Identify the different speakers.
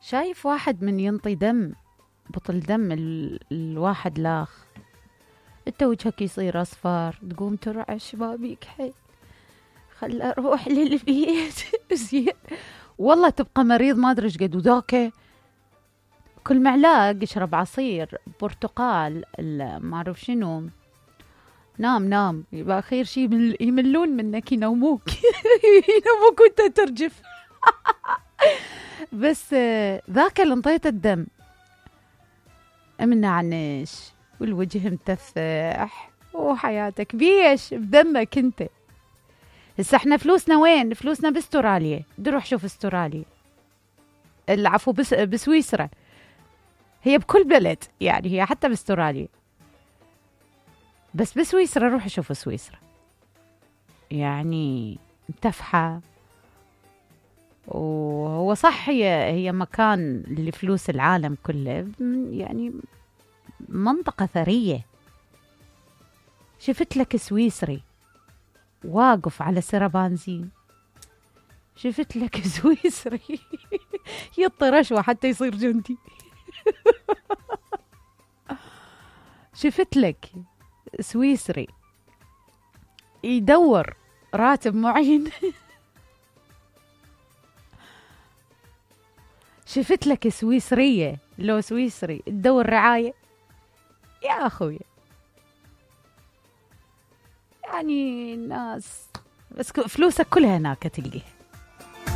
Speaker 1: شايف واحد من ينطي دم، بطل دم الواحد لاخ، انت وجهك يصير اصفر، تقوم ترعش ما بيك حيل، خل اروح للبيت. زين والله تبقى مريض ما ادري ايش قد. وذاك كل معلاق اشرب عصير برتقال ما اعرف شنو، نام يبقى خير شيء يملون منك ينوموك. ينوموك وانت ترجف. بس ذاك اللي انطيت الدم منعنش والوجه متفح وحياتك بيش بدمك انت. هسه احنا فلوسنا وين؟ فلوسنا باستراليا، نروح شوف استراليا، العفو بسويسرا، هي بكل بلد يعني، هي حتى باستراليا، بس بسويسرا روح شوف سويسرا يعني متفحة. وهو صح هي مكان لفلوس العالم كله، يعني منطقة ثرية. شفت لك سويسري واقف على سرة بنزين، شفت لك سويسري يطي رشوة حتى يصير جندي. شفت لك سويسري يدور راتب معين. شفت لك سويسرية لو سويسري تدور رعاية يا أخوي. يعني الناس بس فلوسك كلها هناك تلقيها.